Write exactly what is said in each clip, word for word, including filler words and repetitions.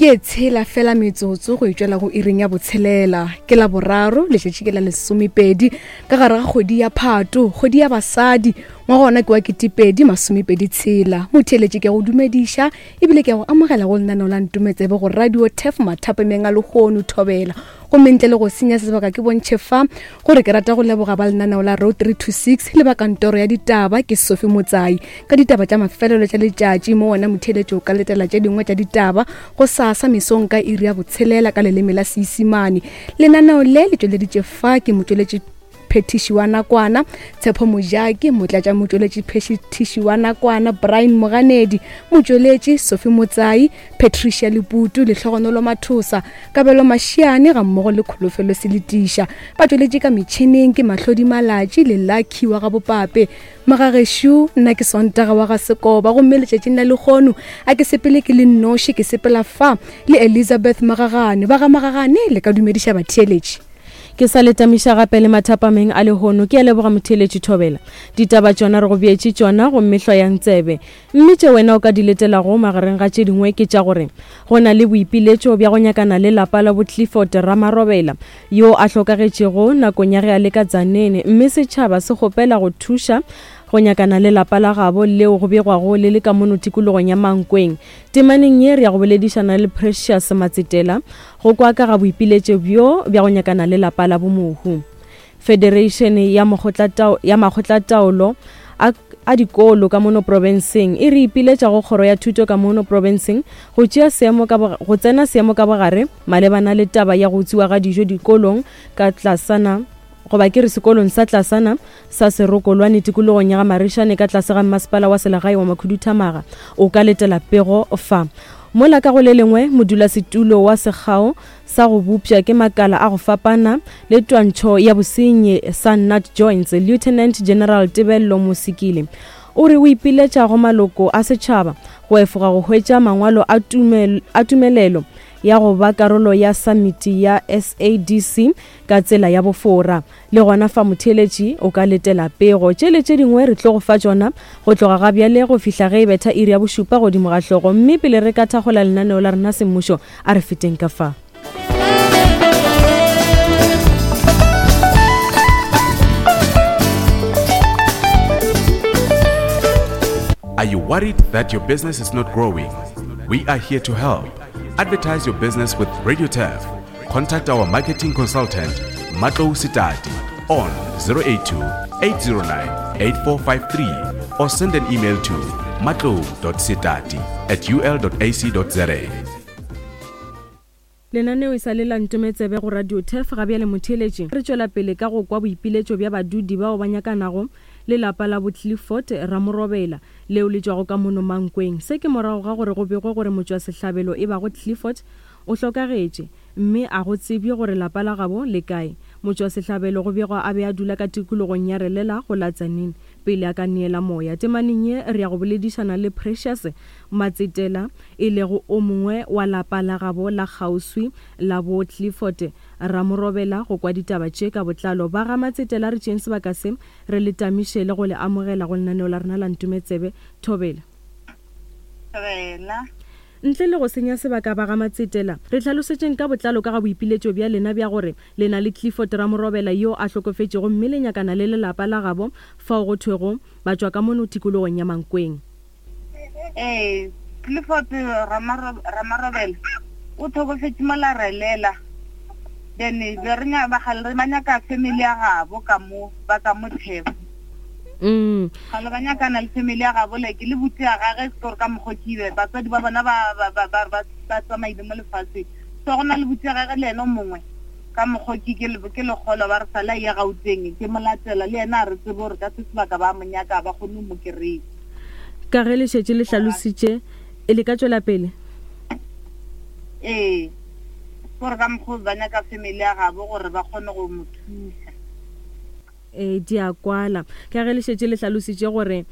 Ke tshela fela metsotso go itšwela go iring ya botshelela ke la boraro letšatši ke la lesomepedi ka gare ga kgwedi ya Phato, kgwedi ya basadi, ngwaga ona ke wa ketepedi masomepedi tshela. Motheeletši ke go dumediša ebile ke go amogela go lenaneo la Ntometsebe go Radio Turf mathapemeng a lehono thobela. Gomme ntle le go senya sebaka ke bontšhe fa gore ke rata go leboga ba lenaneo la Road three two six le ba kantoro ya ditaba ke Sophie Motsai ka ditaba tša mafelelo tša letšatši mo wena motheeletši o ka letela tše dingwe tša ditaba go sasa mesong ka iri ya botshelela ka leleme la Seisimane. Lenaneo le le tšweleditše fa ke motšweletši phetiši wa nakwana Tshepo Mojaki, motlatša motšweletši phetiši wa nakwana Brian Moganedi, motšweletši Sophie Motsai, Patricia Leputu, Lehlogonolo Mathosa, Kabelo Mashiane ga mmogo le Kholofelo Seletiša. Ba tšweletše ka metšhineng ke Mahlodi Malatši le Lucky wa ga Bopape. Magagešu, nna ke Sontaga wa ga Sekoba, gomme letšatšing la lehono a ke sepele ke le nnoši, ke sepela fa le Elizabeth Magagane. Ba ga Magagane le ka dumediša batheeletši. Ke sa letamiša gape le mathapameng a lehono, ke a leboga motheeletši thobela. Ditaba tšona re go beetše tšona gomme hloyang tsebe. Mme tše wena o ka di letelago magareng ga tše dingwe ke tša gore go na le boipiletšo bja go nyakana le lapa la bo Clifford Ramarobela yo a hlokagetšego nakong ya ge a le ka Tzaneen, mme setšhaba se kgopela go thuša go nyakana le lapa la gabo leo go begwago le le ka mono tikologong ya Mankweng. Temaneng ye re ya go boledišana le Precious Matsetela go kwa ka ga boipiletšo bjo bja go nyakana le lapa la bomohu. Federation ya makgotlataolo ya makgotlataolo a a dikolo ka mono profenseng e re ipiletša go kgoro ya thuto ka mono profenseng go tšea seemo ka go tsena seemo ka bogare malebana le taba ya go utswiwa ga dijo dikolong ka tlasana goba ke re sekolong sa tlasana sa Serokolwane tikologong ya ga Marišane ka tlase ga mmasepala wa selegae wa Makhuduthamaga. O ka letela pego fa. Mola ka go le lengwe modulasetulo wa sekgao sa go bopša ke makala a go fapana le twantšho ya bosenyi sa Nat Joints, Lieutenant General Tebello Mosikile o re o ipiletša go maloko a setšhaba go efoga go hwetša mangwalo a tumel, a tumelelo ya go ba karolo ya samiti ya S A D C ka tsela ya bofora. Le gona fa motheeletši o ka letela pego. Tše le tše dingwe re tlo go fa tšona go tloga ga bjale go fihla ge e betha iri ya bošupa godimo ga hlogo. Mme pele re ka thakgola lenaneo la rena semmušo, a re feteng ka fa. Are you worried that your business is not growing? We are here to help. Advertise your business with Radio Turf. Contact our marketing consultant, Matlou Sitati, on zero eight two, eight zero nine, eight four five three or send an email to matlou dot sitati at u l dot a c dot z a. Lenaneo e sa le la Ntometsebe go Radio Turf ga bjale motheeletši. Re tšwela pele ka go kwa boipiletšo bja badudi bao ba nyakanago le lapa la bo Clifford Ramorobela leo le tšwago ka mono Mankweng. Se ke morago ga gore go begwe gore motšwasehlabelo e bago Clifford o hlokagetše mme a go tsebje gore lapa la gabo le kae. Motšwasehlabelo go begwa a be a dula ka tikologong ya Relela go la Tzaneen pele a ka neela moya. Temaneng ye re ya go boledišana le Precious Matsetela e lego o mongwe wa lapa la gabo la kgauswi la bo Clifford Ramorobela go kwa ditaba tše ka botlalo. Ba ga Matsetela re tšeeng sebaka se re le tamiše le go le amogela go lenaneo la rena la Ntometsebe. Thobela. Thobela. Ntle le go senya sebaka ba ga Matsetela, re hlalosetšeng ka botlalo ka ga boipiletšo bja lena bja gore le na le Clifford Ramorobela yo a hlokofetšego mme le nyakana le lelapa la gabo fao go thwego ba tšwa ka mono tikologong ya Mankweng. Ee, Clifford Ramorobela o hlokofetše mo la Relela. Then be re ba ba nyaka family ya gabo ka mo ba ka mo theba. Mm. Ga le ba nyakana le family ya gabo like le botse ya gagwe se gore ka mokgwa ke be batswadi ba bona ba ba ba ba ba ba tsamaile mo lefatsheng. So go na le botse ya gagwe le ena o mongwe ka mokgwa ke ke le ke lekgolo ba re sala ya Gauteng ke molatela le ena a re tsebe gore ka se sebaka ba mo nyaka ba kgone ho mo kry-a. Ka ge le šetše le hlalositše, e le ka tšwela pele? Ee, gore ka mokgwa ba nyaka family ya gabo gore ba kgone go mo thusa. E di a kwala. Ka ge le šetše le hlalositše gore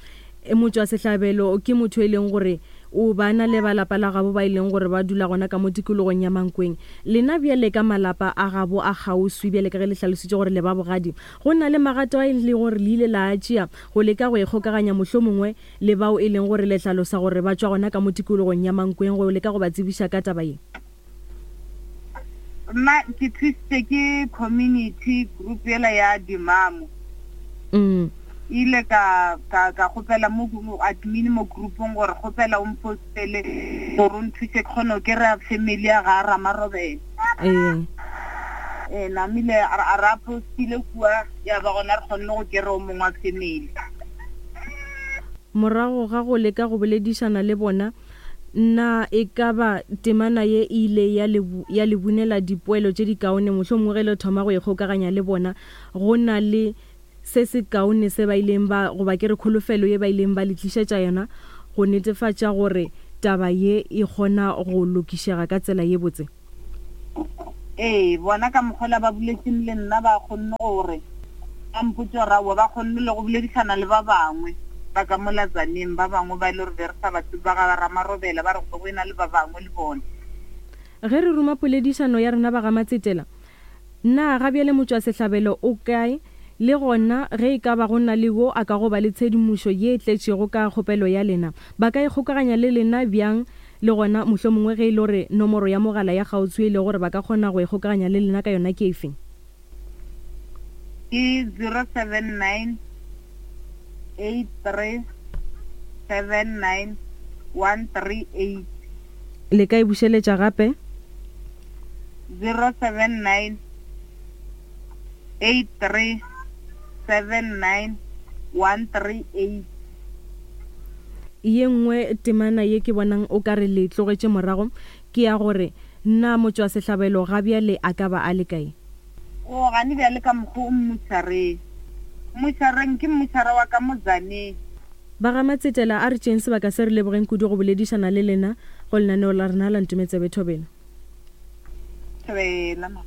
motšwasehlabelo ke motho e leng gore o ba na le ba lapa la gabo ba e leng gore ba dula gona ka mo tikologong ya Mankweng. Lena bjale ka malapa a gabo a kgauswi bjale ka ge le hlalositše gore le ba bogadi, go na le magato a e leng gore le ile la a tšea go leka go ikgokaganya mohlomongwe le bao e leng gore le hlalosa gore ba tšwa gona ka mo tikologong ya Mankweng go leka go ba tsebiša ka taba ye? Nna ke thusitse ke community group yela ya dimamo. Mm. Ile ka ka ka kgopela mo admin mo groupong gore kgopela o mpostele gore o nthuse ke kgone go kry-a family ya ga Ramarobela. Ee. Ee, namile a ra postile kua ya ba gona re kgonne go kry-a o mongwe wa family. Morago ga go leka go boledišana le bona, na e ka ba temana ye e ile ya le ya le bunela dipoelo tše dikaone, mohlomongwe ge le thoma go ikgokaganya le bona, go na le se se kaone se ba ileng ba, goba ke re kholofelo ye ba ileng ba le tlišetša yona go netefatša gore taba ye e kgona go lokišega ka tsela ye botse? Ee, bona ka mokgwa ba boletseng le nna ba kgonne gore ba mpotse gore aowa ba kgonne le go boledišana le ba bangwe ba ka mo Latsaneng, ba bangwe ba e le gore be re sa ba tsebe ba ga Ramarobela, ba re go ena le ba bangwe le bona. Ge re ruma poledišano ya rena ba ga Matsetela, na ga bjale motšwasehlabelo o kae, le gona ge e ka ba go na le wo a ka go ba le tshedimošo ye e tletšego ka kgopelo ya lena, ba ka ikgokaganya le lena bjang? Le gona mohlomongwe ge e le gore nomoro ya mogala ya kgauswi e le gore ba ka kgona go ikgokaganya le lena ka yona ke efe? Ke zero seven nine eight three seven nine one three eight. Le ka e bušeletša gape? zero seven nine eight three seven nine one three eight. Ye nngwe temana ye ke bonang o ka re le tlogetše morago ke ya gore na motšwasehlabelo ga bjale a ka ba a le kae? O gane bjale ka mokgwa o mmušareng. Mmušareng ke mmušara wa ka Mozaneng. Ba ga Matsetela, a re tšeeng sebaka se re lebogeng kudu go boledišana le lena go lenaneo la rena la Ntometsebe Thobela. Thobela ma.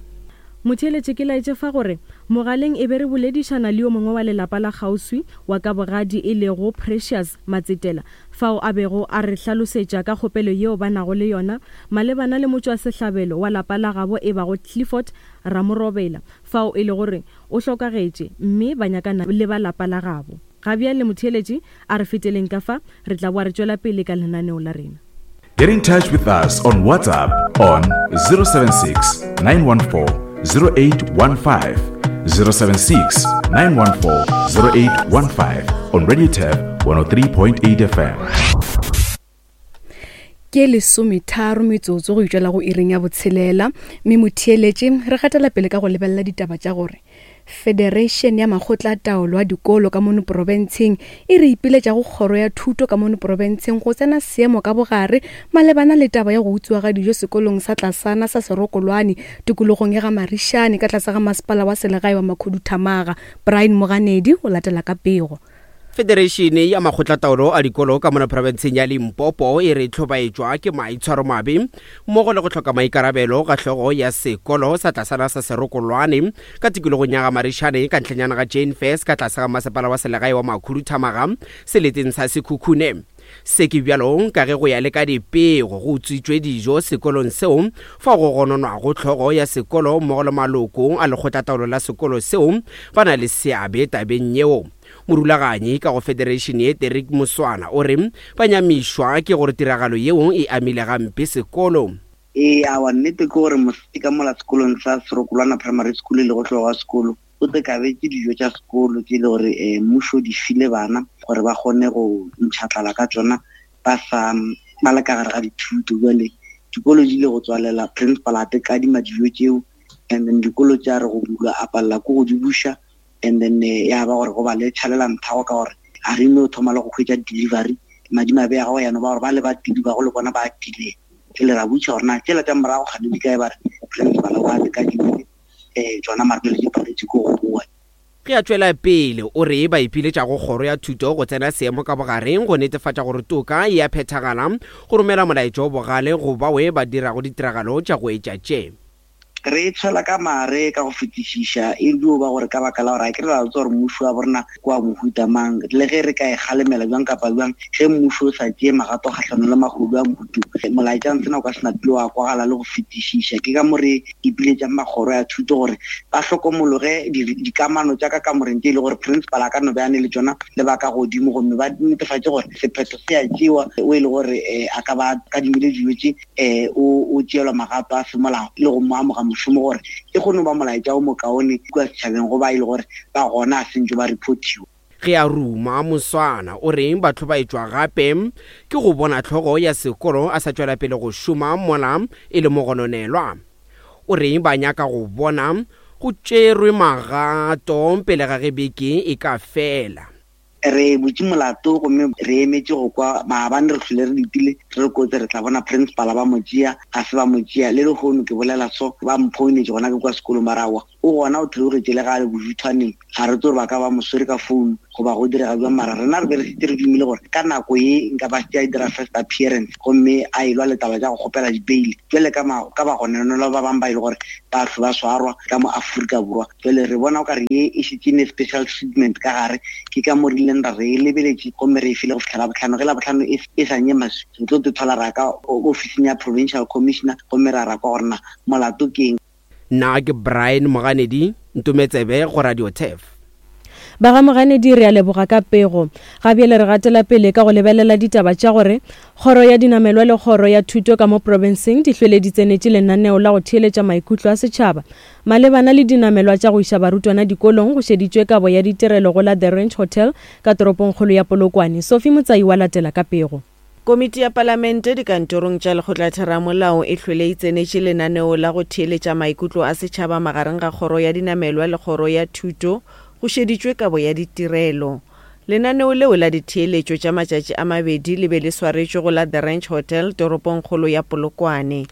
Motheeletše ke laetše fa gore mogaleng e be re boledišana le yo mongwe wa lelapa la kgauswi wa ka bogadi e lego Precious Matsetela, fao a bego a re hlalosetša ka kgopelo yeo ba nago le yona malebana le motšwasehlabelo wa lapa la gabo e bago Clifford Ramorobela, fao e le gore o hlokagetše mme ba nyakana le ba lapa la gabo. Ga bjale motheeletše, a re feteleng ka fa, re tla boa re tšwela pele ka lenaneo la rena. Get in touch with us on WhatsApp on zero seven six nine one four zero eight one five, zero seven six nine one four zero eight one five on Radio Turf one oh three point eight F M. Ke lesometharo metsotso go itšwela go iring ya botshelela, mme motheeletše re gatela pele ka go lebelela ditaba tša gore Federation ya makgotla taolo a dikolo ka mono profenseng e re ipiletša go kgoro ya thuto ka mono profenseng go tsena seemo ka bogare malebana le taba ya go utswiwa ga dijo sekolong sa tlasana sa Serokolwane tikologong ya ga Marišane ka tlase ga masepala wa selegae wa Makhuduthamaga. Brian Moganedi o latela ka pego. Federation ya makgotlataolo a dikolo ka mona profenseng ya Limpopo e re tlhobaetšwa ke maitshwaromabe mmogo le go hloka maikarabelo ga hlogo ya sekolo sa tlasana sa Serokolwane ka tikologong ya ga Marišane ka ntlhanyana ga Jane Fairs ka tlase ga masepala wa selegae wa Makhuduthamaga seleteng sa Sekhukhune. Se ke bjalo ka ge go ya le ka dipego go utswitšwe dijo sekolong seo fa go gononwago hlogo ya sekolo mmogo le maloko a lekgotlataolo la sekolo seo ba na le seabe tabeng yeo. Morulaganyi ka go Federation ye Derek Moswana o re ba nyamišwa ke gore tiragalo yeo e amile gampe sekolo. Ee, awa nnete ke gore mosadi ka mola sekolong sa Serokolwana Primary School le go hlogo wa sekolo o tekabetše dijo tša sekolo tše le gore mmušo di file bana gore ba kgone go ntšha ka tšona ba sa ba le ka gare ga dithuto. Jwale dikolo di ile go tswalela, principal a tekadima dijo tšeo, and then dikolo tša re go bulwa a palela ko go di buša, and then ya ba gore go ba le tšhalela nthago ka gore a re no thoma le go hwetša delivery madimabe ya gago yana ba gore ba le ba tidi ba go le bona ba tile le ra butša gore na tšela tša morago gane di kae ba re principal wa tekadimile um tšona mare pele di paletše ko go boa. Ge a tšwela pele o re ba ipiletša go kgoro ya thuto go tsena seemo ka bogareng go netefatša gore toka e a phethagala, go romela molaetša o bogale go bawe ba dirago ditiragalo tša go etša tše. Re tshwela ka mare ka go fetišiša e dio ba gore ka baka la gore a ke re la tswa gore mmušo wa borena kwa mohuta mang, le ge re ka e kgalemela bjang kapa bjang ge mmušo o sa tšee magato kgahlanong le mahodu a mohutu, molaetša ntsena o ka se napile wa kwagala le go fetišiša. Ke ka mo re ipiletšang makgoro ya thuto gore ba hlokomologe dikamano tša ka kamoreng tše e le gore principal a ka no be a ne le tšona le ba ka godimo, gomme ba netefatše gore sephetho se a tšewa o e le gore a ka ba kadimile dijo tše o tšeelwa magato a semolao le go mo amoga mošomo gore e kgone go ba molaetša o mokaone kua setšhabeng go ba e le gore ba gona a sentse ba reportiwa. Ge a ruma Moswana o reng batho ba etšwa gape ke go bona tlhogo ya sekolo a sa tšwela pele go šoma mola e le mogononelwa. O reng ba nyaka go bona go tšerwe magato pele ga ge beke e ka fela. Re butše molato gomme re emetše go kwa maabane re hlole re letile re re kotse re tla bona principal ba mo tšea, ga se ba mo tšea. Le lehono ke bolela so ba mphounetše gona ke kwa sekolong ba re aowa o gona o theogetše le ga a le bojuthwaneng, ga re tse gore ba ka ba mo swere ka founu goba go direga jwang. Mara rena re be re šetše re dumile gore ka nako ye nka ba šetše a dira first appearance gomme a elwa le taba tša go kgopela di-bail jwale ka ka bagononelwa ba bangwe ba e le gore ba hlwe ba swarwa ka mo Afrika Borwa. Jwale re bona o kare ye e šetše ne special treatment ka gare, ke ka mo re ileng ra re e lebeletše gomme re e file go fihla Labohlano. Ge Labohlano e, e sa nye maswi re tlo te thola ra ka ofising ya provincial commissioner gomme ra ra kwa gore na molato ke eng. Nna ke Brian Moganedi, Ntometsebe go Radio Turf. Ba ga Moganedi re a leboga ka pego. Ga bjale re gatela pele ka go lebelela ditaba tša gore kgoro ya dinamelwa le kgoro ya thuto ka mo profenseng di hlwele di tsenetše lenaneo la go theeletša maikutlo a setšhaba malebana le dinamelwa tša go iša barutwana dikolong. Go šeditšwe kabo ya ditirelo go la The Ranch Hotel ka toropongkgolo ya Polokwane. Sophie Motsai wa latela ka pego. Komiti ya Palamente dikantorong tša lekgotlatheramolao e hlwele e tsenetše lenaneo la go theeletša maikutlo a setšhaba magareng ga kgoro ya dinamelwa le kgoro ya thuto go šeditšwe kabo ya ditirelo. Lenaneo leo la ditheeletšo tša matšatši a mabedi le be le swaretšwe go la The Ranch Hotel toropongkgolo ya Polokwane.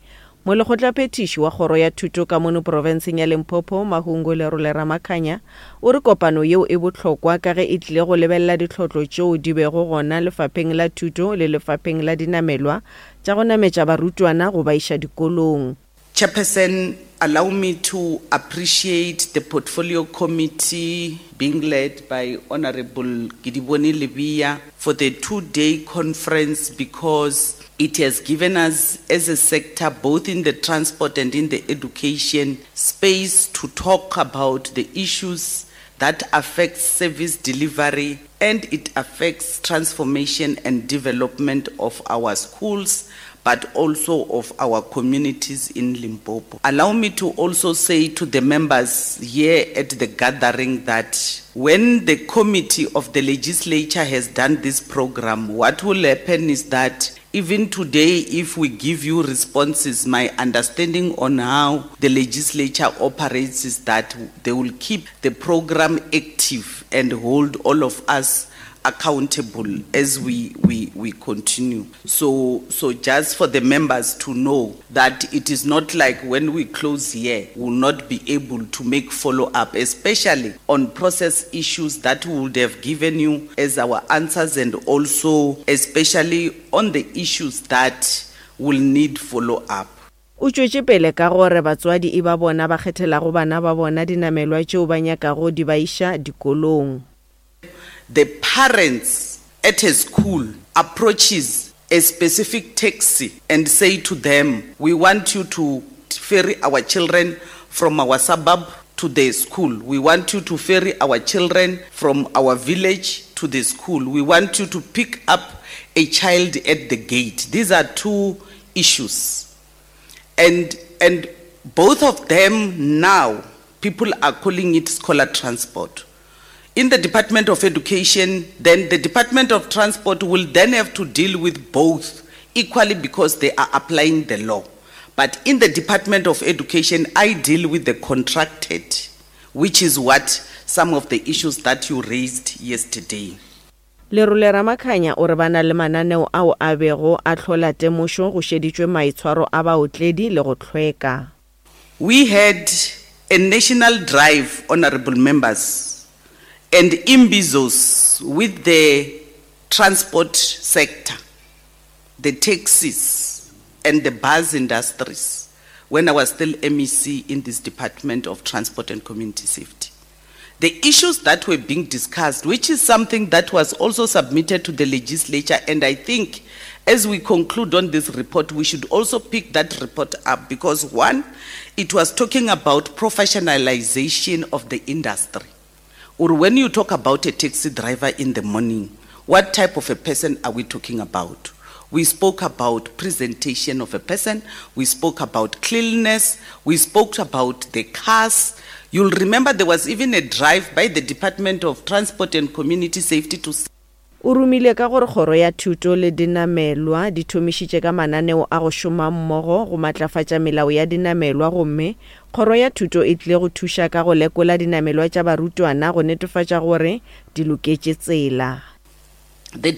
Molekgotlaphethiši wa kgoro ya thuto ka mono profenseng ya Limpopo Mahungu Lerole Ramakhanya o re kopano yeo e bohlokwa ka ge e tlile go lebelela ditlhotlo tšeo di bego gona lefapheng la thuto le lefapheng la dinamelwa tša go nametša barutwana go ba iša dikolong. Chairperson, allow me to appreciate the portfolio committee being led by Honorable Gidiboni Libya for the two-day conference, because it has given us as a sector, both in the transport and in the education space, to talk about the issues that affect service delivery, and it affects transformation and development of our schools, but also of our communities in Limpopo. Allow me to also say to the members here at the gathering that when the committee of the legislature has done this program, what will happen is that even today, if we give you responses, my understanding on how the legislature operates is that they will keep the program active and hold all of us accountable as we, we, we continue. So, so just for the members to know that it is not like when we close here, we will not be able to make follow-up, especially on process issues that we would have given you as our answers, and also especially on the issues that will need follow-up. O tšwetše pele ka gore batswadi e ba bona ba kgethelago bana ba bona dinamelwa tšeo ba nyakago di ba iša dikolong. The parents at a school approaches a specific taxi and say to them, we want you to ferry our children from our suburb to the school. We want you to ferry our children from our village to the school. We want you to pick up a child at the gate. These are two issues. And, and both of them now, people are calling it scholar transport. In the Department of Education, then the Department of Transport will then have to deal with both equally because they are applying the law. But in the Department of Education, I deal with the contracted, which is what some of the issues that you raised yesterday. Lerole Ramakhanya o re ba na le mananeo ao a bego a hlola temošo go šeditšwe maitshwaro a baotledi le go hlweka. We had a national drive, honorable members, and imbizos with the transport sector, the taxis and the bus industries, when I was still M E C in this Department of Transport and Community Safety. The issues that were being discussed, which is something that was also submitted to the legislature, and I think as we conclude on this report, we should also pick that report up because, one, it was talking about professionalization of the industry. Or when you talk about a taxi driver in the morning, what type of a person are we talking about? We spoke about presentation of a person, we spoke about cleanliness, we spoke about the cars. You'll remember there was even a drive by the Department of Transport and Community Safety to O rumile ka gore kgoro ya thuto le dinamelwa di thomišitše ka mananeo a go šoma mmogo go matlafatša melao ya dinamelwa gomme kgoro ya thuto e tlile go thuša ka go lekola dinamelwa tša barutwana go netefatša gore di loketše tsela. The,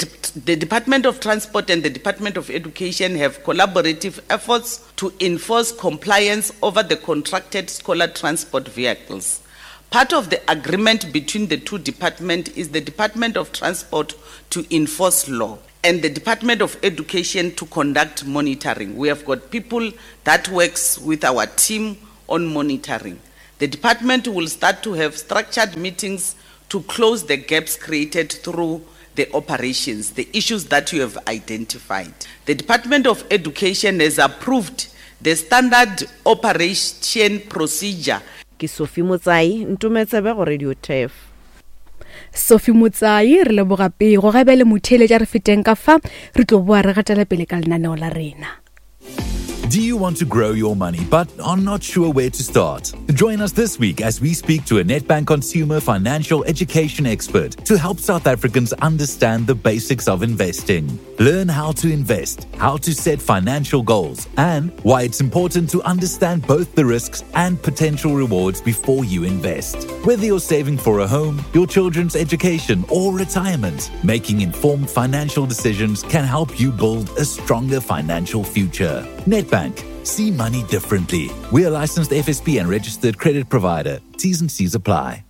the Department of Transport and the Department of Education have collaborative efforts to enforce compliance over the contracted scholar transport vehicles. Part of the agreement between the two departments is the Department of Transport to enforce law and the Department of Education to conduct monitoring. We have got people that works with our team on monitoring. The department will start to have structured meetings to close the gaps created through the operations, the issues that you have identified. The Department of Education has approved the standard operation procedure. Ke Sophie Motsai, Ntometsebe go Radio Turf. Sophie Motsai, re leboga pego ga bjale motheeletša re feteng ka fa re tlo boa re gatela pele ka lenaneo la rena. Do you want to grow your money but are not sure where to start? Join us this week as we speak to a Nedbank consumer financial education expert to help South Africans understand the basics of investing. Learn how to invest, how to set financial goals, and why it's important to understand both the risks and potential rewards before you invest. Whether you're saving for a home, your children's education, or retirement, making informed financial decisions can help you build a stronger financial future. Nedbank. See money differently. We are licensed F S P and registered credit provider. T's and C's apply.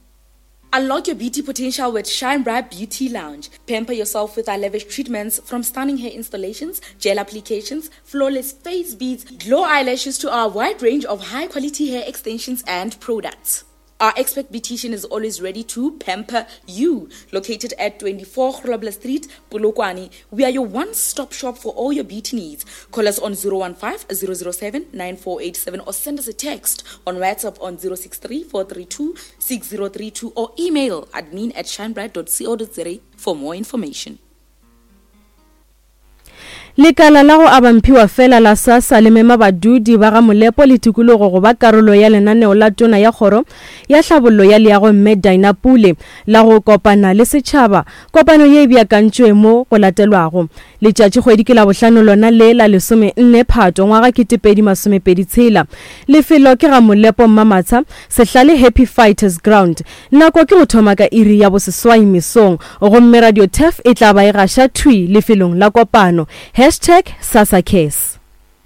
Unlock your beauty potential with Shine Bright Beauty Lounge. Pamper yourself with our lavish treatments, from stunning hair installations, gel applications, flawless face beads, glow eyelashes to our wide range of high-quality hair extensions and products. Our expert beautician is always ready to pamper you. Located at twenty-four Grobler Street, Polokwane, we are your one-stop shop for all your beauty needs. Call us on zero one five, zero zero seven, nine four eight seven or send us a text on WhatsApp on zero six three, four three two, six zero three two or email admin at shinebright dot co dot za for more information. Lekala la go abamphiwa fela la SASSA le mema badudi ba ga Molepo le tikologo go ba karolo ya lenaneo la tona ya kgoro ya tlhabollo ya leago mme Dinah Pule la go kopana le setšhaba. Kopano ye e beakantšwe mo go latelwago letšatši kgwedi ke la bohlano lona le la lesome nne Phato ngwaga ketepedi masomepedi tshela. Lefelo ke ga Molepo Mmamatsa, Sehlale Happy Fighters Ground. Nako ke go thoma ka iri ya boseswai mesong gomme Radio Turf e tla ba e gaša thwi lefelong la kopano. Hashtag SASSA Cares.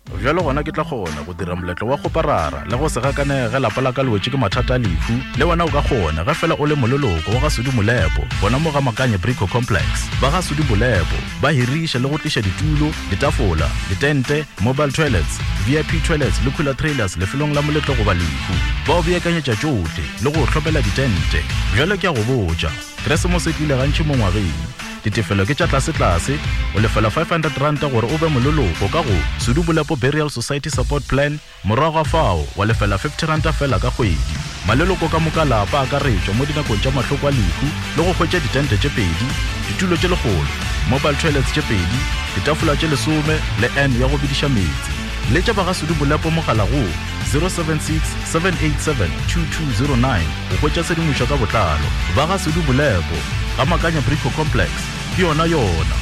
Bjalo gona ke tla kgona go dira moletlo wa kgoparara le go se gakanege ge lapa la ka le wetše ke mathata a lehu. Le wena o ka kgona ge fela o le moleloko wa ga Sudi Molepo gona mo ga Makanye Brico Complex. Ba ga Sudi Molepo ba hiriša le go tliša ditulo, ditafola, ditente, mobile toilets, V I P toilets le cooler trailers lefelong la moletlo goba lehu. Ba o beakanyetša tšohle le go hlopela ditente. Bjalo ke a go botša, Keresemose e tlile gantši mo ngwageng. Ditefelo ke tša tlase-tlase, o lefela five hundred rand gore o be moleloko ka go Sudi Molepo Burial Society Support Plan, morago ga fao wa lefela fifty rand fela ka kgwedi. Maleloko ka moka lapa a akaretšwa mo dinakong tša mahloko a lehu le go hwetša ditente tše pedi, ditulo tše lekgolo, mobile toilets tše pedi, ditafola tše lesome le N ya go bidiša meetse. Letša ba ga Sudi Molepo mogala go zero seven six, seven eight seven, two two zero nine go hwetša tshedimošo ka botlalo. Ba ga Sudi Molepo ga Makanya Brico Complex. Ke yona yona.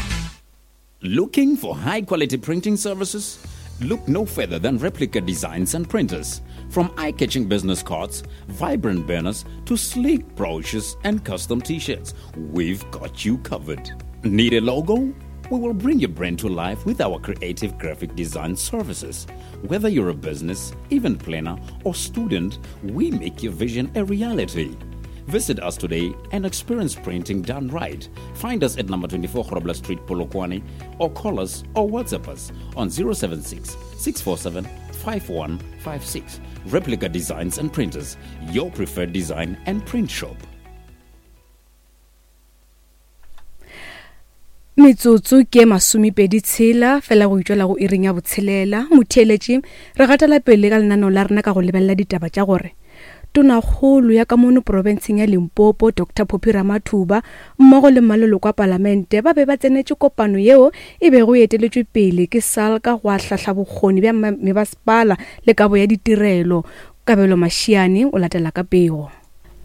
Looking for high quality printing services? Look no further than Replica Designs and Printers. From eye-catching business cards, vibrant banners, to sleek brochures and custom t-shirts, we've got you covered. Need a logo? We will bring your brand to life with our creative graphic design services. Whether you're a business, event planner, or student, we make your vision a reality. Visit us today and experience printing done right. Find us at number twenty-four Grobler Street, Polokwane, or call us or WhatsApp us on zero seven six, six four seven, five one five six. Replica Designs and Printers, your preferred design and print shop. Metsotso ke masomepedi tshela fela go itšwela go iring ya botshelela. Motheeletši re gatela pele ka lenaneo la rena ka go lebelela ditaba tša gore Tonakgolo ya ka mono profenseng ya Limpopo Doctor Phophi Ramathuba mmogo le maleloko a palamente ba be ba tsenetše kopano yeo e bego e eteletšwe pele ke SALGA go ahlahla bokgoni bja mebasepala le kabo ya ditirelo. Kabelo Mashiane o latela ka pego.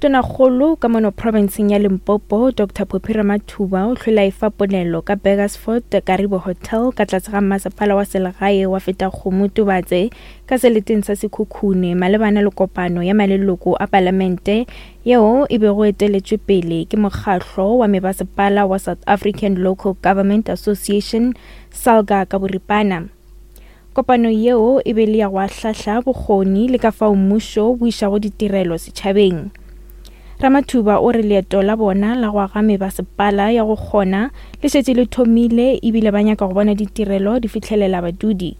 Tonakgolo ka mono profenseng ya Limpopo Doctor Phophi Ramathuba o hlwela e fa ponelo ka Burgersfort Karibo Hotel ka tlase ga masepala wa selegae wa Fetakgomo Tubatse ka seleteng sa Sekhukhune malebana le kopano ya maleloko a palamente yeo e bego eteletšwe pele ke mokgahlo wa mebasepala wa South African Local Government Association SALGA ka boripana. Kopano yeo e be le ya go ahlahla bokgoni le ka fao mmušo bo išago ditirelo setšhabeng. Ramathuba o re leeto la bona la go aga mebasepala ya go kgona le šetše le thomile ebile ba nyaka go bona ditirelo di fihlelela badudi.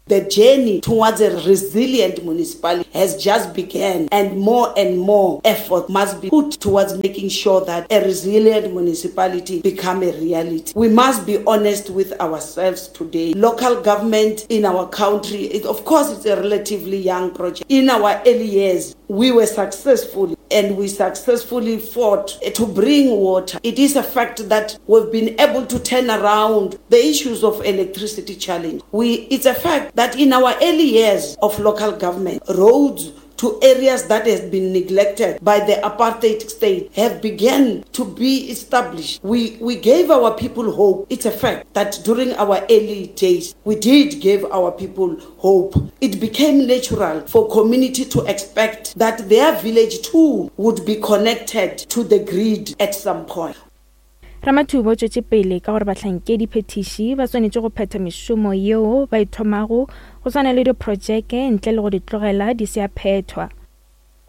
The journey towards a resilient municipality has just begun, and more and more effort must be put towards making sure that a resilient municipality become a reality. We must be honest with ourselves today. Local government in our country, it, of course, it's a relatively young project. In our early years, we were successful, and we successfully fought to bring water. It is a fact that we've been able to turn around the issues of electricity challenge. We, it's a fact that in our early years of local government, roads to areas that has been neglected by the apartheid state have begun to be established. We, we gave our people hope. It's a fact that during our early days, we did give our people hope. It became natural for community to expect that their village too would be connected to the grid at some point. Ramathuba o tšwetše pele ka gore bahlankedi phetiši ba swanetše go phetha mešomo yeo ba e thomago go swana le diprojeke ntle le go di tlogela di se a phethwa.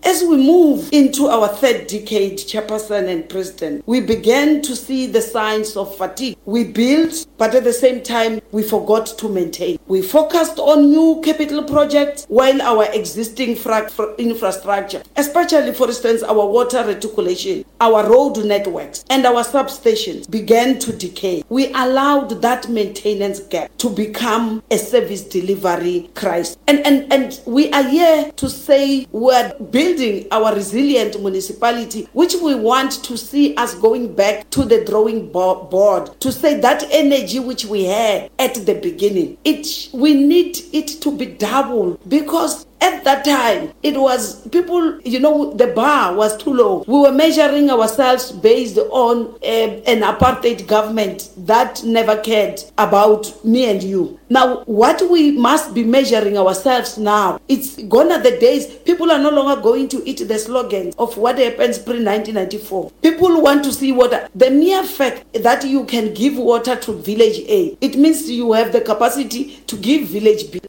As we move into our third decade, Chairperson and President, we began to see the signs of fatigue. We built, but at the same time, we forgot to maintain. We focused on new capital projects while our existing fra- fra- infrastructure, especially, for instance, our water reticulation, our road networks, and our substations began to decay. We allowed that maintenance gap to become a service delivery crisis. And, and, and we are here to say we're building our resilient municipality, which we want to see us going back to the drawing board, to say that energy which we had at the beginning, it we need it to be doubled, because at that time, it was people, you know, the bar was too low. We were measuring ourselves based on uh, an apartheid government that never cared about me and you. Now, what we must be measuring ourselves now, it's gone are the days, people are no longer going to eat the slogans of what happens pre nineteen ninety-four. People want to see water. The mere fact that you can give water to village A, it means you have the capacity to give village B.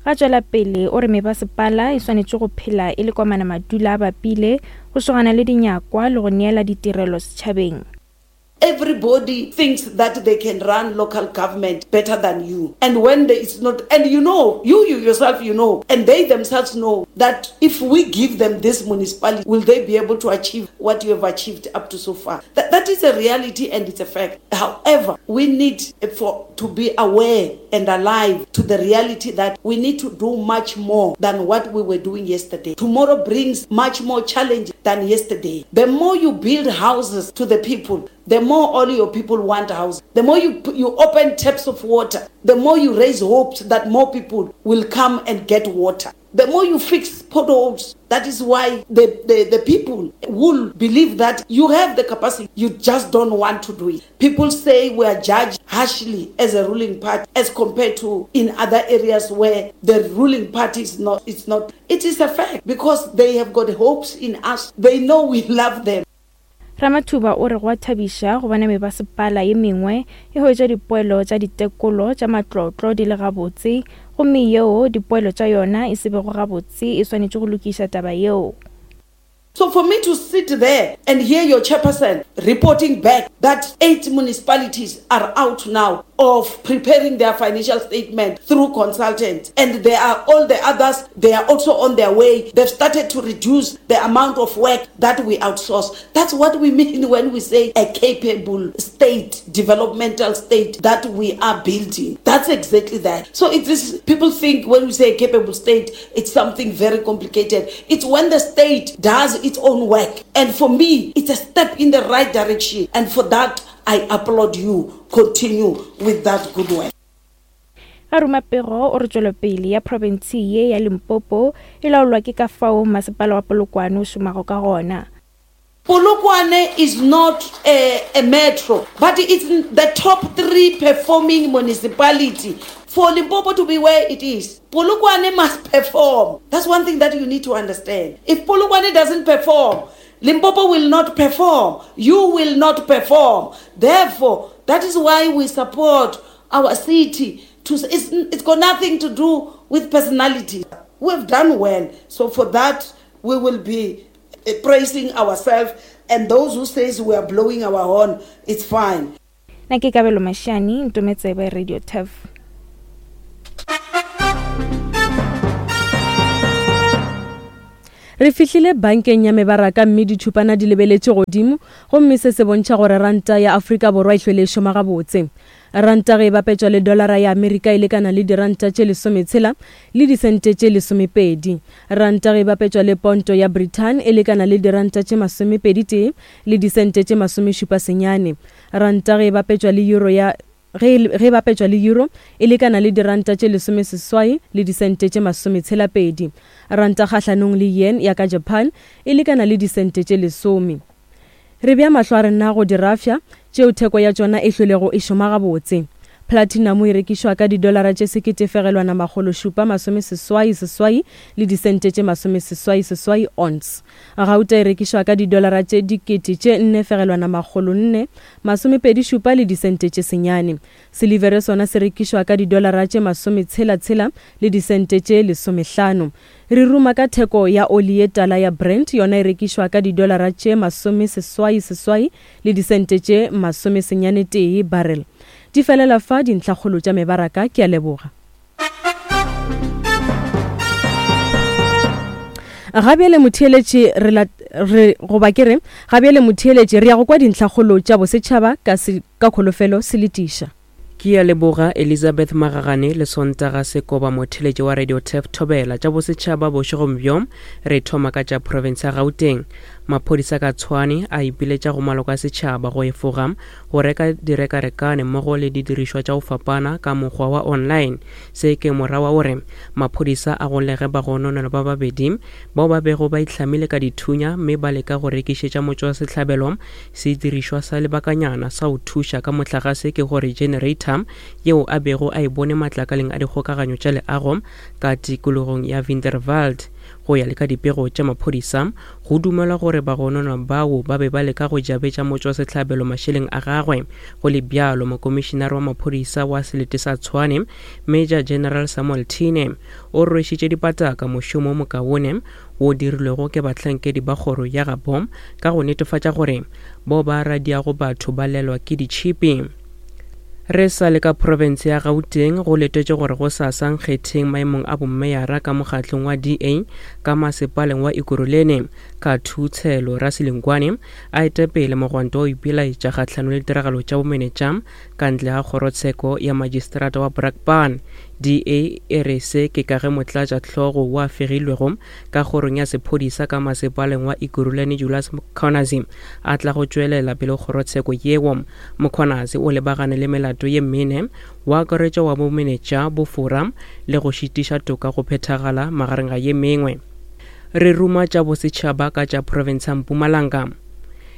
Ga tšwela pele o re mebasepala e swanetše go phela e le komana madula a bapile go šogana le dinyakwa le go neela ditirelo setšhabeng. Everybody thinks that they can run local government better than you. And when there is not, and you know, you, you yourself, you know, and they themselves know that if we give them this municipality, will they be able to achieve what you have achieved up to so far? That, that is a reality and it's a fact. However, we need for to be aware and alive to the reality that we need to do much more than what we were doing yesterday. Tomorrow brings much more challenge than yesterday. The more you build houses to the people, the more all your people want houses. The more you, you open taps of water, the more you raise hopes that more people will come and get water. The more you fix potholes, that is why the, the, the people will believe that you have the capacity, you just don't want to do it. People say we are judged harshly as a ruling party as compared to in other areas where the ruling party is not. It's not. It is a fact because they have got hopes in us. They know we love them. Ramathuba o re go a thabiša go bona mebasepala ye mengwe e hwetša dipoelo tša ditekolo tša matlotlo di le gabotse, gomme yeo dipoelo tša yona e se bego gabotse e swanetše go lokiša taba yeo. So for me to sit there and hear your chairperson reporting back that eight municipalities are out now of preparing their financial statement through consultants. And there are all the others, they are also on their way. They've started to reduce the amount of work that we outsource. That's what we mean when we say a capable state, developmental state that we are building. That's exactly that. So it is, people think when we say a capable state, it's something very complicated. It's when the state does its own work. And for me, it's a step in the right direction. And for that, I applaud you. Continue with that good work. A ruma pego o re tšwelopele ya profense ye ya Limpopo e laolwa ke ka fao masepala wa Polokwane o šomago ka gona. Polokwane is not a, a metro, but it's the top three performing municipality. For Limpopo to be where it is, Polokwane must perform. That's one thing that you need to understand. If Polokwane doesn't perform, Limpopo will not perform. You will not perform. Therefore, that is why we support our city. To, it's, it's got nothing to do with personality. We've done well. So for that, we will be praising ourselves. And those who says we are blowing our horn, it's fine. Na ke Kabelo Mashani, Ntometsebe Radio Turf. Re fihlile bankeng ya mebaraka mme ditšhupana di lebeletše godimo, gomme se se bontšha gore ranta ya Afrika Borwa e hlwele e šoma gabotse. Ranta ge e bapetšwa le dolara ya Amerika e lekana le diranta tše lesometshela le disente tše lesomepedi. Ranta ge e bapetšwa le ponto ya Britain e lekana le diranta tše masomepedi tee le disente tše masomešupa senyane. Ranta ge e bapetšwa le euro ya ge e bapetšwa le euro e lekana le diranta tše lesomeseswai le disente tše masometshela pedi. Ranta kgahlanong le yen ya ka Japan e lekana le disente tše lesome. Re bea mahlo a rena go dirafša tšeo theko ya tšona e hlwelego e šoma gabotse. Platinum e rekišwa ka didolara tše sekete fegelwana makgolo šupa masomeseswai seswai le disente tše masomeseswai seswai ounce. Gauta e rekišwa ka didolara tše dikete tše nne fegelwana makgolo nne masomepedi šupa le disente tše senyane. Silivere sona se rekišwa ka didolara tše masometshela tshela le disente tše lesomehlano. Re ruma ka theko ya oli ye tala ya Brent, yona e rekišwa ka didolara tše masomeseswai seswai le disente tše masomesenyane tee barrel. Di felela fa dintlhakgolo tša mebaraka. Ke a leboga. Gabjale motheeletši re re goba ke re gabjale motheeletši re ya go kwa dintlhakgolo tša bosetšhaba ka se, ka kholofelo se letiša. Ke a leboga Elizabeth Magagane le Sontaga Sekoba motheeletši wa Radio Turf Thobela. Tša bosetšhaba bošegong bjo re thoma ka tša province ya Gauteng. Maphodisa ka Tshwane a ipiletša go maloko a setšhaba go efoga go reka direkarekane mmogo le didirišwa tša go fapana ka mokgwa wa online. Se ke morawa gore maphodisa a golege bagononelwa ba babedi bao ba bego ba itlhamile ka dithunya mme ba leka go rekišetša motšwasehlabelo sedirišwa sa lebakanyana sa go thuša ka mohlagase, ke gore generator yeo a bego a e bone matlakaleng a dikgokaganyo tša leago ka tikologong ya Winterwald. Go ya le ka dipego tša maphodisa, go dumelwa gore bagononwa bao ba be ba leka go jabetša motšwasehlabelo mašeleng a gagwe. Go le bjalo, mokomišenare wa maphodisa wa selete sa Tshwane, Major General Samuel Tine, o rwešitše dipataka mošomo o mokaone wo dirilwego ke bahlankedi ba kgoro ya gabo ka go netefatša gore bao ba radiago batho ba lelwa ke ditšhipi. Re sa le ka province ya Gauteng, go letetše gore go sasa nkgetheng maemong a bommeyara ka mokgatlong wa D A ka masepaleng wa Ekurhuleni ka Thutshelo Rasilengwane a etepele mogwanto wa ipelaetša kgahlano le ditiragalo tša bomenetša ka ntle ga kgorotsheko ya magistrata wa Brakpan. D A e re se ke ka ge motlatšahlogo wa fegilwego ka kgorong ya sephodisa ka masepaleng wa Ekurhuleni Julius Mkhwanazi a tla go tšwelela pele kgorotsheko yeo. Mkhwanazi o lebagane le melato ye mene wa akaretša wa bomenetša, bofora le go šitiša toka go phethagala magareng ga ye mengwe. Re ruma tša bosetšhaba ka tša province ya Mpumalanga.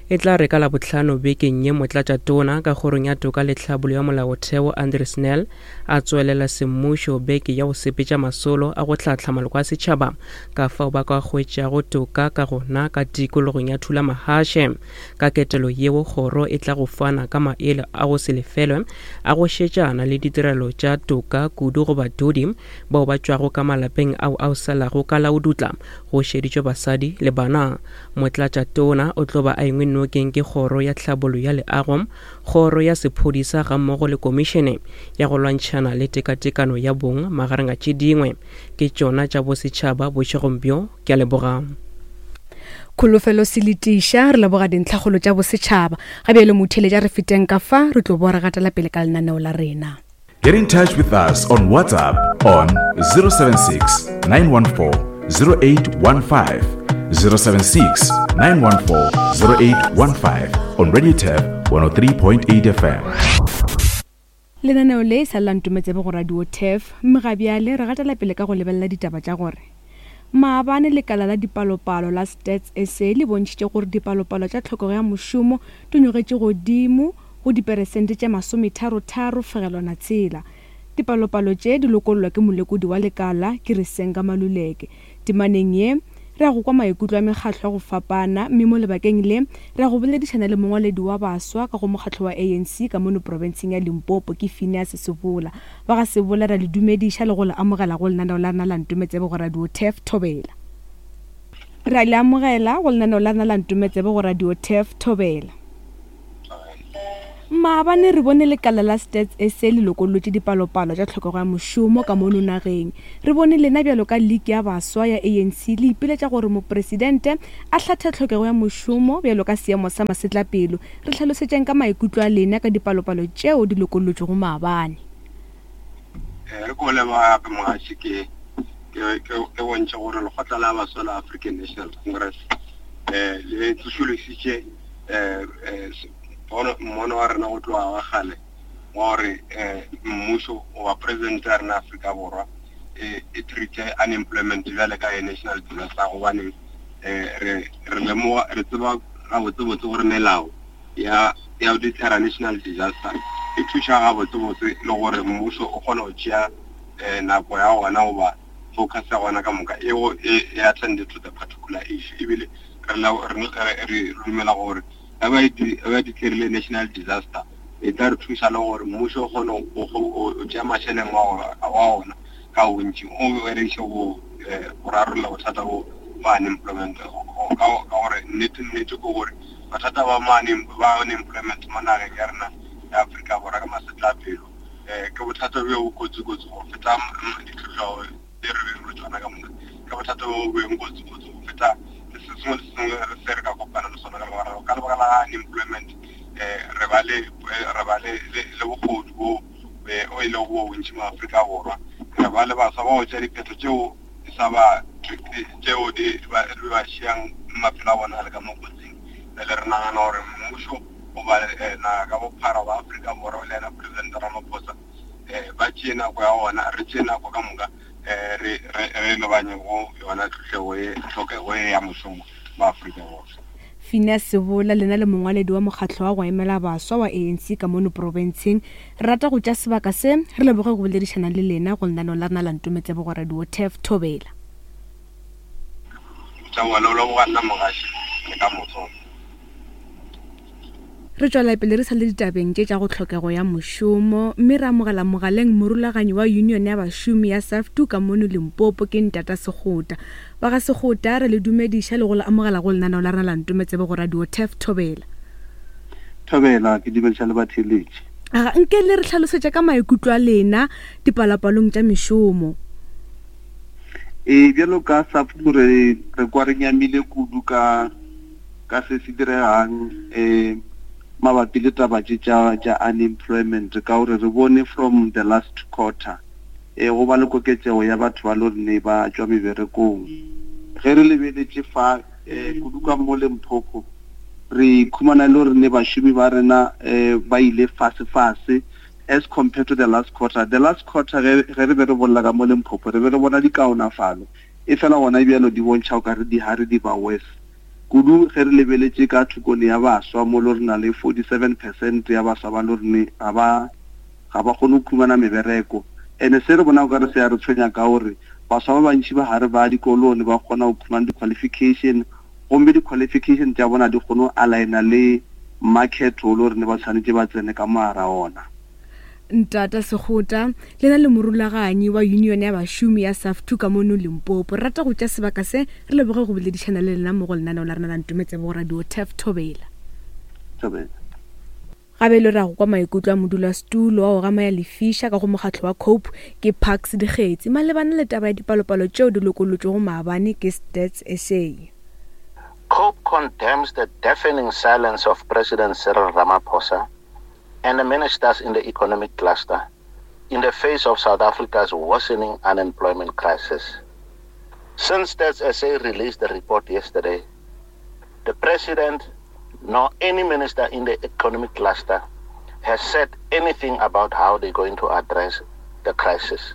E tla re ka Labohlano bekeng ye motlatšatona ka kgorong ya toka le tlhabollo ya molaotheo Andre Snell a tswelela semmušo beke ya go sepetša masolo a go hlahla maloko a setšhaba ka fao ba ka hwetšago toka ka gona ka tikologong ya Thulamahashe. Ka ketelo yeo kgoro e tla go fana ka maele a go se lefelwe a go šetšana le ditirelo tša toka kudu go badudi bao ba tšwago ka malapeng ao a salago ka laodutla go šeditšwe basadi le bana. Motlatšatona o tlo ba a engwe nokeng ke kgoro ya tlhabollo ya leago, kgoro ya sephodisa gammogo le komišene ya go lwantšhana le tekatekano ya bong magareng a tše dingwe. Ke tšona tša bosetšhaba bošegong bjo. Ke a leboga. Kholofelo Seletiša, re leboga dintlhakgolo tša bosetšhaba. Ga bjale motheeletša re feteng ka fa, re tlo boa re gatela pele ka lenaneo la rena. Get in touch with us on WhatsApp on zero seven six, nine one four, zero eight one five, zero seven six, nine one four, zero eight one five on Radio Turf one oh three point eight F M. Lenaneo le e sa le la Ntometsebe go Radio Turf, mme ga bjale re gatela pele ka go lebelela ditaba tša gore maabane lekala la dipalopalo la Stats S A le bontšhitše gore dipalopalo tša tlhokego ya mošomo di nyogetše godimo go diperesente tše masometharo-tharo fegelwana tshela. Dipalopalo tše di lokollwa ke molekodi wa lekala ke Risenga Maluleke. Temaneng ye re ya go kwa maikutlo a mekgatlo ya go fapana, mme mo lebakeng le re ya go boledišana le mongwaledi wa baswa ka go mokgatlo wa A N C ka mono profenseng ya Limpopo ke Phineas Sebola. Ba ga Sebola ra le dumediša le go le amogela go lenaneo la rena la Ntometsebe go Radio Turf Thobela. Ra le amogela go lenaneo la rena la Ntometsebe go Radio Turf Thobela. Maabane re bone lekala la Stats S A le lokollotše dipalopalo tša tlhokego ya mošomo ka mono nageng. Re bone lena bjalo ka League ya Baswa ya A N C le ipiletša gore mopresidente a hlathe tlhokego ya mošomo bjalo ka seemo sa masetlapelo. Re hlalosetšeng ka maikutlo a lena ka dipalopalo tšeo di lokollotšwego maabane. Eh, re ko leboga gape mogaši, ke, ke, ke, ke bontšhe gore lekgotla la baswa la African National Congress, eh, le tsošolositše, eh, eh, pono, mmono wa rena go tloga wa kgale wa gore, eh, mmušo goba president ya rena Afrika Borwa, eh, e treat-e unemployment bjale ka e national disaster, gobane, eh, re, re lemoga, re tseba gabotsebotse gore melao ya, ya go declare national disaster e thuša gabotsebotse le gore mmušo o kgone go tšea, eh, nako ya gona goba focus ya gona ka moka e go, e, e attend to the particular issue. Ebile re la-, re, re, re dumela gore ga ba e di-, ga ba declare national disaster e tla re thuša le gore mmušo o kgone go, go, go, go tšea mašeleng wa, wa ona ka bontši, o berekiše go, eh, go rarolla bothata bo ba unemployment. Ka, ka gore nnete, nnete ke gore bothata ba ma unem-, ba unemployment mo nageng ya rena ya Afrika Borwa ka masetlapelo, eh, ke bothata bjo bo kotsi-kotsi go feta m-, ditlhohlo tse re beng re tsona ka moka. Ke bothata bo beng kotsi-kotsi go feta se sengwe le se sengwe re se re ka kopana le sona ka lebaka la, ka lebaka la unemployment, eh, re ba le, eh, re ba le, le, le bogodu bo, eh, o e lego bo bontši mo Afrika Borwa. Re ba le baswa ba go tšea diphetho tšeo di sa ba, tšeo di ba, di ba šiang maphelo a bona a le ka mo kotsing. Bjale re nagana gore mmušo goba, eh, naga ka bophara ba Afrika Borwa le yena President Ramaphosa, eh, ba tšee nako ya bona, re tšee nako ka moka, eh, re, re, re lebanye go yona tlhohlego e, tlhokego e ya mošomo mo Afrika Borwa. Phineas Sebola, lena le mongwaledi wa mokgatlo wa go emela baswa wa A N C ka mono profenseng, re rata go tša sebaka se re leboge go boledišana le lena go lenaneo la rena la Ntometsebe go Radio Turf Thobela. Tša bona, o leboga nna mogaši, le ka moso. Re tšwela pele re sa le ditabeng tše tša go tlhokego ya mošomo, mme re amogela mogaleng morulaganyi wa union ya bašomi ya SAFTU ka mono Limpopo ke Ntata Sekgota. Ba ga Sekgota, re le dumediša le go le amogela go lenaneo la rena la Ntometsebe go Radio Turf Thobela. Thobela, ke dumediša le batheeletši. Aga, nke le re hlalosetše ka maikutlo a lena dipalopalong tša mešomo. Ee, bjalo ka SAFTU re, re kwa re nyamile kudu ka, ka se se diregang, eh, mabapi le taba tše tša, tša unemployment, ka gore re bone from the last quarter, eh, go ba le koketšego ya batho ba le gore ne ba tšwa meberekong. Ge re lebeletše fa, eh, kudu ka mo Limpopo, re khumana le gore ne bašomi ba rena, eh, ba ile fase-fase as compared to the last quarter. The last quarter ge, ge re be re bolela ka mo Limpopo, re be re bona dikaonafalo, e fela gona bjalo di bontšha o ka re di ha re di ba worse. Kudu ge re lebeletše ka thokone ya baswa, mo le re na le forty-seven percent ya baswa ba le gore ga ba, ga ba kgone go khumana mebereko. Ene se re bona o ka re se ya re tshwenya ka gore baswa ba bantši ba gare ba dikolong ba kgona go khumana di-qualification, gomme di-qualification tša bona di kgone go aligna le market o le gore ne ba tshwanetse ba tsene ka mogara ona. Ntata Sekgota, lena le morulaganyi wa union ya bašomi ya SAFTU ka mono Limpopo, re rata go tša sebaka se re leboge go boledišana le lena mo go lenaneo la rena la Ntometsebe go Radio Turf Thobela. Thobela. Gabe le ra go kwa maikutlo a modulasetulo wa go gama ya lefiša ka go mokgatlo wa COPE ke Parks Dikgetsi malebana le taba ya dipalopalo tšeo di lokolotšwego maabane ke Stats S A. COPE condemns the deafening silence of President Cyril Ramaphosa and the ministers in the economic cluster in the face of South Africa's worsening unemployment crisis. Since Stats S A released the report yesterday, the president nor any minister in the economic cluster has said anything about how they're going to address the crisis.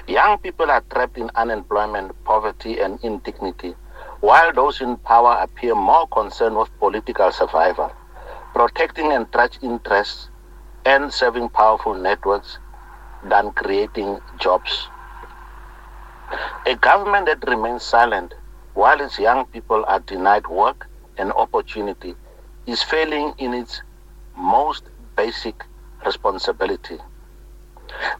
Young people are trapped in unemployment, poverty, and indignity, while those in power appear more concerned with political survival, protecting entrenched interests, and serving powerful networks than creating jobs. A government that remains silent while its young people are denied work and opportunity is failing in its most basic responsibility.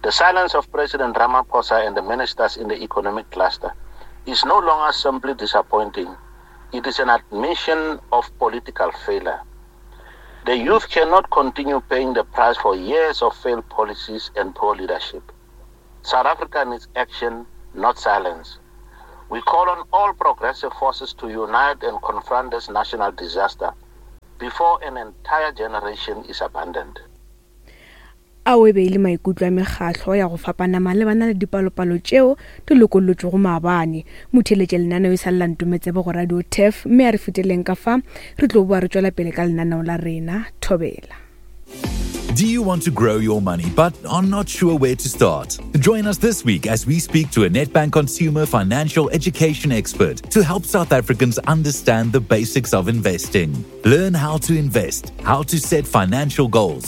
The silence of President Ramaphosa and the ministers in the economic cluster is no longer simply disappointing. It is an admission of political failure. The youth cannot continue paying the price for years of failed policies and poor leadership. South Africa needs action, not silence. We call on all progressive forces to unite and confront this national disaster before an entire generation is abandoned. Ao e be e le maikutlo a mekgahlo ya go fapana malebana le dipalopalo tšeo di lokolotšwego maabane. Motheeletše lenaneo e sa lela ntometsebe go Radio Turf, mme a re feteleng ka fa re tlo boa re tšwela pele ka lenaneo la rena. Thobela. Do you want to grow your money but are not sure where to start? Join us this week as we speak to a Nedbank consumer financial education expert to help South Africans understand the basics of investing. Learn how to invest, how to set financial goals,